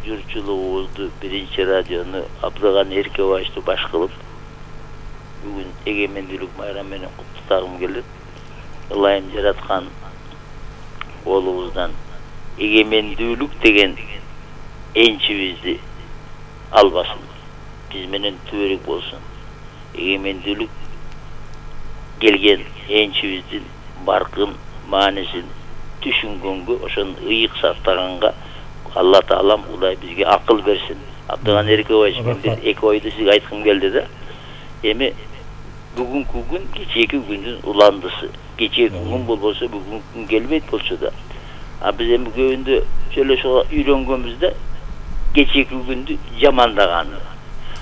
журчулугубузду, биринчи радиону Абдыган Эркебаевичти баш кылып, бүгүн эгемендүүлүк майрамы менен куттуктагым келет. Ылайым жараткан болубуздан эгемендүүлүк деген энчибизди албасын. Биз менен түбөрүк болсун. Эгемендүүлүк келген энчибиздин баркын, маанисин түшүнгөнгө, ошону ыйык сактаганга Алла Таалам Кудай бизге акыл берсин. Абдыган Эркебаевич, мен бир эки ойду сизге айткым келди да. Эми бүгүнкү күн кечээки күндүн уландысы. Кечээки күн болбосо бүгүнкү күн келбейт болчу да. Биз эми көбүндө сүйлөшүүгө үйрөнгөнбүз да, кечээки күндү жамандаганы.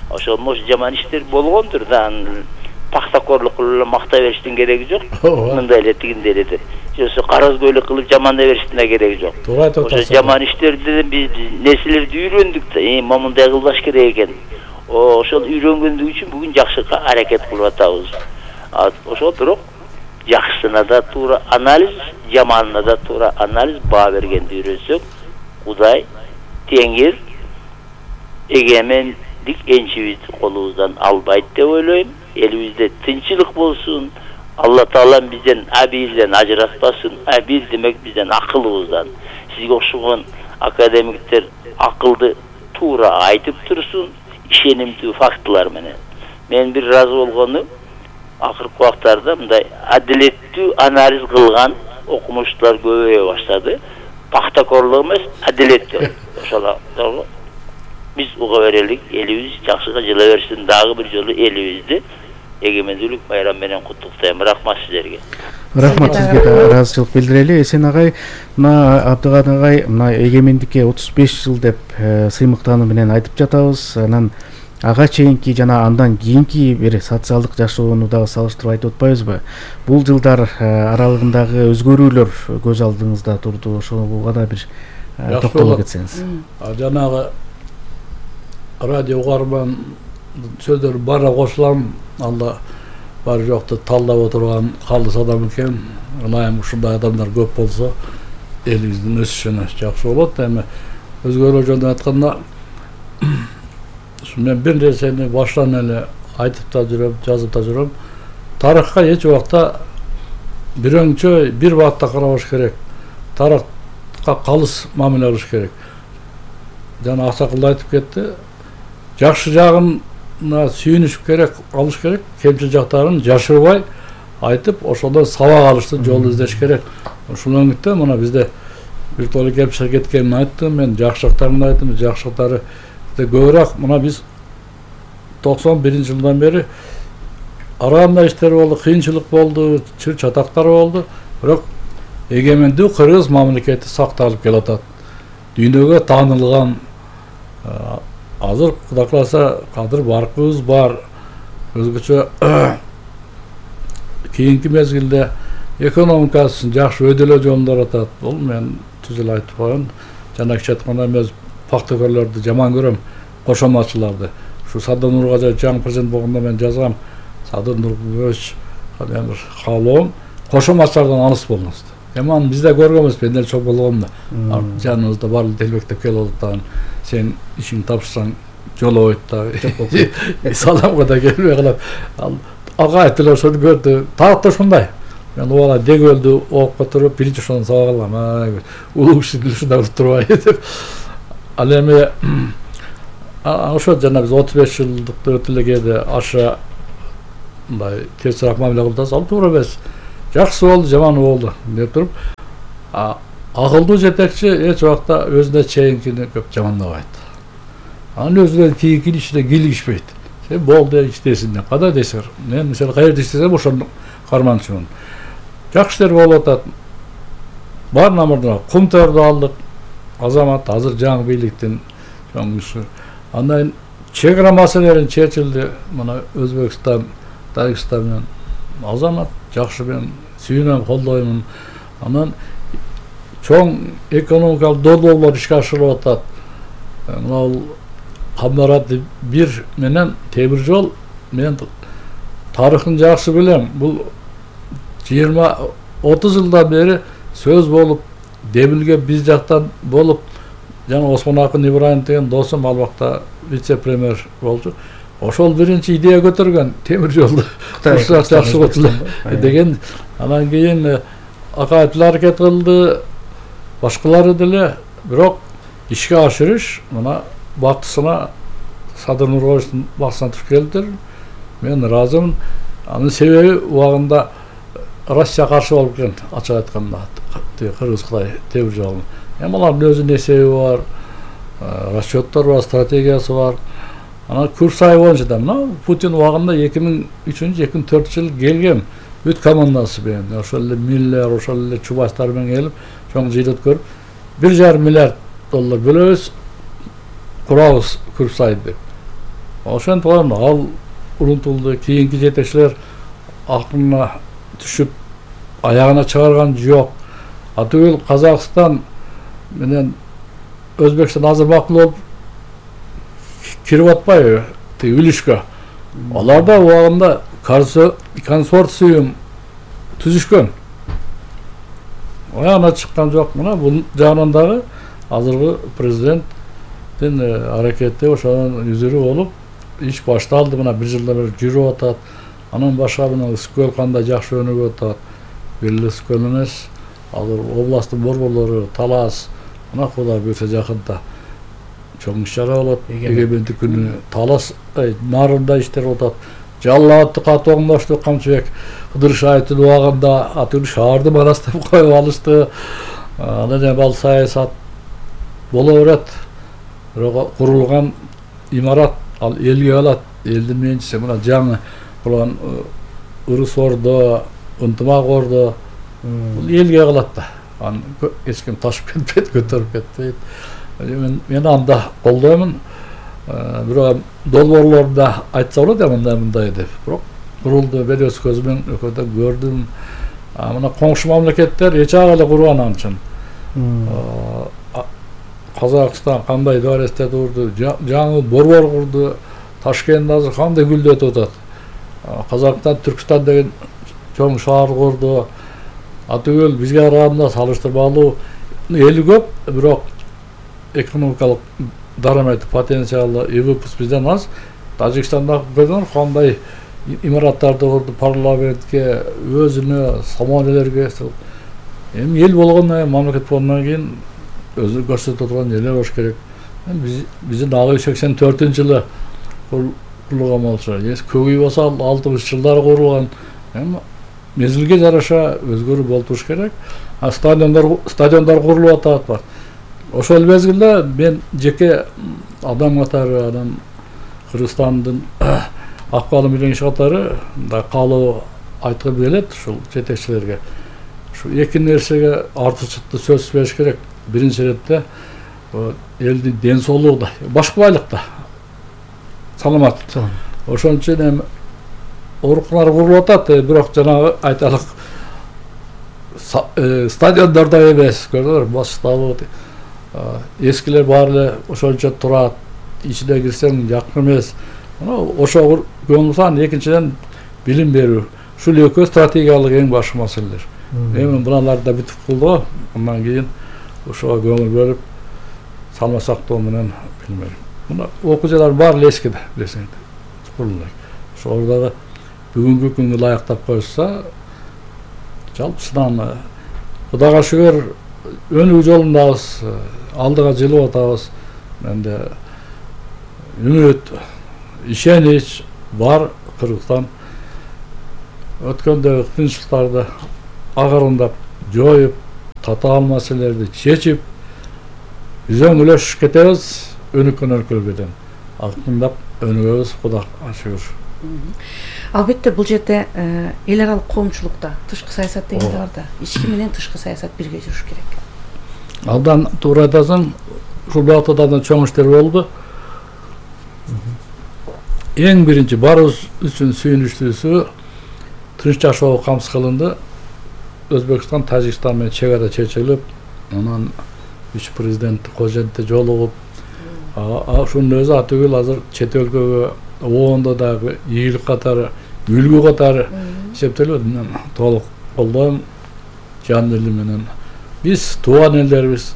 Ошол жаман иштер болгондур да, пахтакорлук кылып эле мактай бериштин кереги жок. Мындай эле тигиндей эле деп. Жоксо карыз көйлөк кылып жамандай бериштин да кереги жок. Ошо жаман иштерден биз нерселерди үйрөндүк да, момундай кылбаш керек экен. Ошол үйрөнгөндүк үчүн бүгүн жакшыга аракет кылып атабыз. Ошол бирок жакшысына да туура анализ, жаманына да туура анализ баа бергенди үйрөнсөк, Кудай, Теңир эгемендик энчибизди колубуздан албайт деп ойлойм. Элибизде тынчылык болсун. Алла Таалам бизден абийден ажыратпасын. Абий демек бизден акылыбыздан. Сизге окшогон академиктер акылды туура айтып турсун, ишенимдүү фактылар менен. Мен бир разы болгону акыркы убактарда мындай адилеттүү анализ кылган окумуштуулар көбөйө баштады. Пахтакорлук эмес, адилеттүү. Ошол биз уга берелик, элибиз жакшыга жыла берсин. Дагы бир жолу элибизди эгемендүүлүк майрамы менен куттуктайм. Рахмат сиздерге. Рахмат сизге да ыраазычылык билдирели. Эсен агай, мына Абдыган агай, мына эгемендикке 35 жыл деп сыймыктануу менен айтып жатабыз. Анан ага чейинки жана андан кийинки бир социалдык жашоону дагы салыштырып айтып атпайбызбы? Бул жылдар аралыгындагы өзгөрүүлөр көз алдыңызда турду. Ошого да бир токтоло кетсеңиз. Жанагы радио угарман сөздөр бара кошулам. Алла бар жокту талдап отурган калыс адам экен. Ылайым ушундай адамдар көп болсо элибиздин өсүшүнө жакшы болот. Эми өзгөрүү жөнүндө айтканда, мен бир нерсени баштан эле айтып да жүрөм, жазып да жүрөм. Тарыхка эч убакта бирөңчө бир багытта карабаш керек. Тарыхка калыс мамиле кылыш керек. Жана Аксакал айтып кетти. Жакшы жагына сүйүнүш керек, алыш керек, кемчил жактарын жашырбай айтып, ошондон сабак алыштын жолун издеш керек. Ушул өңүттө мына бизде бир топ кемчил кеткенин айттым, мен жакшы жактарын айттым, жакшы жактары көбүрөөк. Мына биз 91-жылдан бери араганда иштер болду, кыйынчылык болду, чыр чатактар болду, бирок эгемендүү кыргыз мамлекети сакталып келатат. Дүйнөгө таанылган, азыр Кудай кааласа кадыр баркыбыз бар. Өзгөчө кийинки мезгилде экономикасын жакшы өйдөлөө жолунда атат. Бул мен түз эле айтып коеюн. Жана кичи айтканда эмес пактыкөрлөрдү жаман көрөм, кошоматчыларды. Ушу Садыр Нургажаев жаңы президент болгондо мен жазгам, Садыр Нургажаевич мен бир каалоом, кошоматчылардан алыс болуңуз. Эми аны биз да көргөнбүз, мен деле чоң болгондо. Жаныбызда барлык телбектеп келип атат, сен ишиңди тапшырсаң жолобойт да. Саламга да келбей калат. Ага деле ошону көрдү. Так да ушундай. Мен убала дегөлдү окуп отуруп, биринчи ошону сабак алгам. Улуу киши ушундай турбай деп. Ал эми ошо жана биз 35 жылдыкты өтүп эле кээде аша мындай терсирээк мамиле кылып атабыз. Ал туура эмес. Жакшы болду, жаман болду деп туруп, акылдуу жетекчи эч убакта өзүнө чейинкини көп жамандабайт. Анын өзүнө тийинкини ишине кийлигишпейт. Сен болду иштесиң, кандай дейсиң? Мен мисалы каерде иштесем ошону карманчумун. Жакшы иштер болуп атат. Баарына мурда Кумтөрдү алдык. Азамат азыр жаңы бийликтин чоңушу. Андан чек ара маселелерин чечилди. Мына Өзбекстан, Тажикстан менен азамат жакшы мен сүйүнөм, колдоймун. Анан чоң экономикалык долбоорлор ишке ашырылып атат. Мына Камбарат 1 менен темир жол мен тарыхын жакшы билем. Бул 20-30 жылдан бери сөз болуп, демилге биз жактан болуп, жана Осмон Акын Ибраимов деген досум ал убакта вице-премьер болчу. Ошол биринчи идея көтөргөн темир жолду курсак жакшы болот деген. Анан кийин акаевдер аракет кылды, башкалары деле, бирок ишке ашырыш мына бактысына Садыр Нургажаевдин бактысына туш келдир. Мен ыраазымын. Анын себеби убагында Россия каршы болуп кеткен, ачык айтканда, Кыргыз-Кытай темир жолун. Эми алардын өзүнүн эсеби бар, расчеттор бар, стратегиясы бар. Анан курс айы боюнча да мына Путин убагында 2003-2004 жыл келген бүт командасы менен, ошол эле Миллер, ошол эле Чубайстар менен келип, чоң жыйын өткөрүп, $1,5 миллиард бөлөбүз, курабыз курс айды деп. Ошентип ал урунтулду, кийинки жетекчилер акылына түшүп, аягына чыгарган жок. Атүгүл Казакстан менен Өзбекстан азыр макул болуп кирип атпайбы үлүшкө. Алар да убагында консорциум түзүшкөн. Аяна чыккан жок. Мына бул жагынан дагы азыркы президенттин аракети ошонун үзүрү болуп, иш башталды. Мына 1 жылдан бери жүрүп атат. Анан башка мына Ысыкөл кандай жакшы өнүгүп атат. Бир эле Ысыкөл эмес, азыр областтын борборлору, Талас, мына Кудай буйрса жакында чоң иш-чара болот. Эгемендик күнү Талас нарында иштер атат. Жаллатты катуу оңдошту Камчыбек Кыдыршаевдин убагында атүн шаарды манастап коюп алышты. Анан эми ал саясат боло берет. Бирок курулган имарат ал элге калат. Элдин менчиси мына жаңы курган Ырыс Ордо, Ынтымак Ордо бул элге калат да. Аны эч ким ташып кетпейт, көтөрүп кетпейт. Мен анда колдоймун. Бирок долбоорлордо айтса болот мындай деп. Бирок курулду, бери өз көзүмөн өкөдө көрдүм. Мына коңшу мамлекеттер эч эле курган анчын. Казакстан кандай дээресте турду, жаңы борбор курду, Ташкент азыр кандай гүлдөтүп атат. Казакстан, Түркстан деген чоң шаар курду. Атүгүл бизге караганда салыштырмалуу эли көп, бирок экономикалык дарамет потенциалы ИВП бизден аз. Тажикстанда көрдүңөр кандай имараттарды курду, парламентке, өзүнө, самолелерге. Эми эл болгондон, мамлекет болгондон кийин өзү көрсөтүп турган эле болуш керек. Биздин 1984-жылы курулган болчу. Көк үй болсо 60 жылдары курулган. Эми мезгилге жараша өзгөрүү болуп туруш керек. Стадиондар курулуп атат. Ошол мезгилде мен жеке адам катары, анан Кыргызстандын акбалы менен иш катары да каалоо айткым келет ушул жетекчилерге. Ушу эки нерсеге артыкчылыкты сөз бериш керек. Биринчи иретте элдин ден соолугу да, башкы байлык да саламат. Ошон үчүн эми ооруканалар курулуп атат, бирок жанагы айталык стадиондордо эмес, көрдүңөр, Башталуу, эскилер баары эле ошончо турат, ичине кирсең жакын эмес. Ошо көңүл. Экинчиден билим берүү. Ушул экөө стратегиялык эң башкы маселелер. Эми буналарды да бүтүп кылды. Андан кийин ошого көңүл бөлүп салмасактоо менен билмейм. Мына окуучулар баары эскиде, билесиңер. Ошол дагы бүгүнкү күнгө ылайыктап койса, жалпысынан Кудайга шүгүр өнүгүү жолундабыз, алдыга жылып атабыз. Менде үмүт, ишенич бар. Кыргызстан өткөндөгү кыйынчылыктарды агарындап, жоюп, татаал маселелерди чечип, үзөңүлөш кетебиз, өнүккөн өлкөлөрдөн. Акырындап өнүгөбүз, Кудайга шүгүр. Албетте бул жерде эл аралык коомчулукта тышкы саясат деген бар да. Ички менен тышкы саясат бирге жүрүш керек. Алдан туура айтасың, ушул багытта чоң иштер болду. Эң биринчи барыбыз үчүн сүйүнүчтүүсү тынч жашоо камсыз кылынды. Өзбекстан, Тажикстан менен чек ара чечилип, анан вице-президент Кожентте жолугуп, ушунун өзү атүгүл азыр чет өлкөгө оондо дагы ийгилик катары, үлгү катары эсептелет. Мен толук колдойм жан элим менен. Биз тууган элдерибиз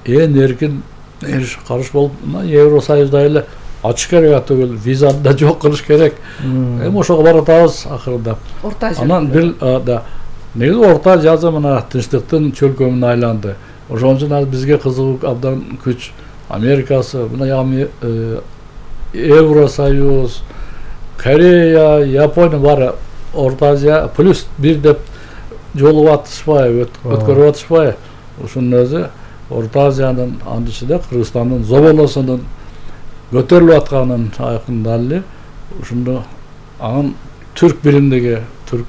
эң эркин карыш болуп, Евросоюзда эле ачык керек атүгүл, визаны да жок кылыш керек. Эми ошого баратабыз акырында. Анан бир негизи Орта Азия мына тынчтыктын чөлкөмүнө айланды. Ошон үчүн бизге кызыгуу абдан күч. Америкасы, мына Евросоюз, Корея, Япония бары Орта Азия плюс бир деп жолуп атышпайбы, өткөрүп атышпайбы. Ушунун өзү Орта Азиянын анын ичинде Кыргызстандын зоболосунун көтөрүлүп атканын айкындалды. Ушунду анын түрк биримдиги, түрк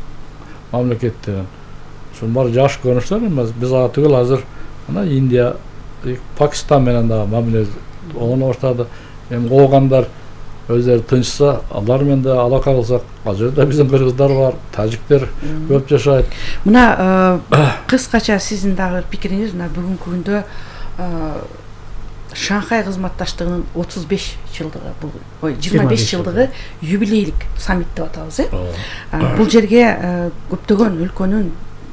мамлекеттери. Ушун баары жакшы көрүнүштөр эмес. Биз түгүл азыр мына Индия, Пакистан менен дагы мамиле оңо баштады. Эми коогандар өздөрү тынчса, алар менен да алака кылсак, ал жерде биздин кыргыздар бар, тажиктер көп жашайт. Мына кыскача сиздин дагы пикириңиз, мына бүгүнкү күндө Шанхай кызматташтыгынын 35 жылдыгы, бул 25 жылдыгы юбилейлик саммит деп атабыз, Бул жерге көптөгөн өлкөнүн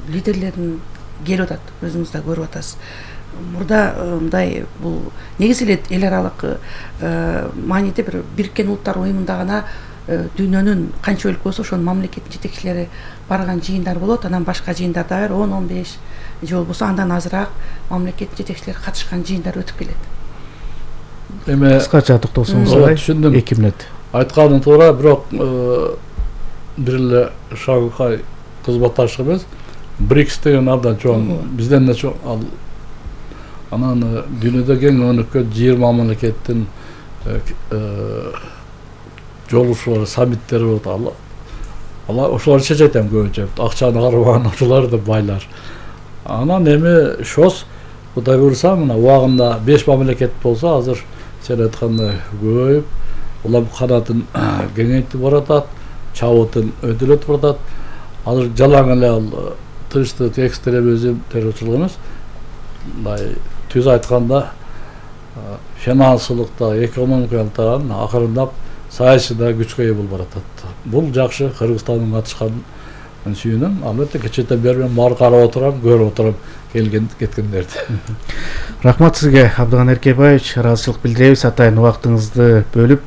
лидерлерин келип атат, өзүңүз да көрүп атасыз. Мурда мындай бул негизи эле эл аралык мааниде бир Бириккен Улуттар Уюмунда гана дүйнөнүн канча өлкөсү ошонун мамлекеттин жетекчилери барган жыйындар болот. Анан башка жыйындар да бар, 10-15 же болбосо андан азыраак мамлекеттин жетекчилери катышкан жыйындар өтүп келет. Эми кыскача токтолсоңуз, түшүндүм. 2 мүнөт. Айтканың туура, бирок бир эле Шанхай кызматташтыгы эмес, БРИКС деген абдан чоң, бизден да чоң. Анан дүйнөдө кең өнүккөн 20 мамлекеттин жолугушуулары, саммиттери болот. Алар ошолор чечет эми көбүнчө. Акчаны карабаган ошолор да байлар. Анан эми ШОС Кудай буйрса, мына убагында 5 мамлекет болсо, азыр сен айткандай көбөйүп, улам канатын кеңейтип баратат, чабытын өтүлөтүп баратат. Азыр жалаң эле ал тынчтык, экстремизм, террорчулук эмес. Мындай түз айтканда финансылыкта, экономикалыкта акырындап саясийда күчкө ээ болуп баратат. Бул жакшы, Кыргызстандын катышканын сүйүнөм. Албетте кечээден бери мен баары карап отурам, көрүп отурам келген кеткендерди. Рахмат сизге, Абдыган Эркебаевич, ыраазычылык билдиребиз атайын убактыңызды бөлүп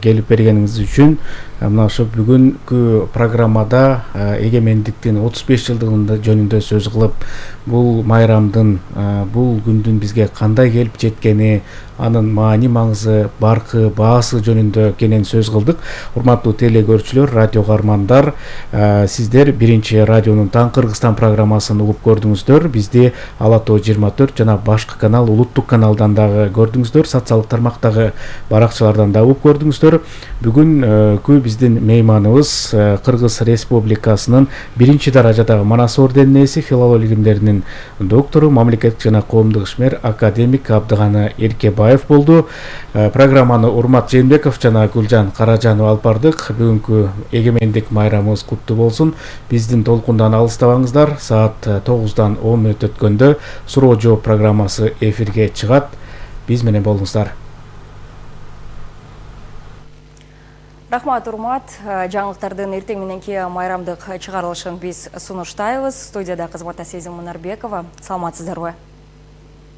келип бергениңиз үчүн. Мына ошо бүгүнкү программада эгемендиктин 35 жылдыгында жөнүндө сөз кылып, бул майрамдын, бул күндүн бизге кандай келип жеткени, анын маани маңызы, баркы, баасы жөнүндө кенен сөз кылдык. Урматтуу теле көрүүчүлөр, радио каармандар, сиздер биринчи радионун Таң Кыргызстан программасын угуп көрдүңүздөр. Бизди Ала Тоо 24 жана башкы канал, улуттук каналдан дагы көрдүңүздөр, социалдык тармактагы баракчалардан да угуп көрдүңүздөр. Бүгүнкү биздин мейманыбыз Кыргыз Республикасынын 1-даражадагы Манас орденинин ээси, филология илимдеринин доктору, мамлекеттик жана коомдук ишмер академик Абдыганы Эркебаев болду. Программаны Урмат Жээнбеков жана Гүлжан Каражанова алып бардык. Бүгүнкү эгемендик майрамыбыз куттуу болсун. Биздин толкундан алыстабаңыздар. Саат 9-дан 10 мүнөт өткөндө суроо жооп программасы эфирге чыгат. Биз менен болуңуздар. Рахмат, Урмат. Жаңылыктардын эртең мененки майрамдык чыгарылышын биз сунуштайбыз. Студияда кызматта Сезим Мунарбекова. Саламатсыздарбы?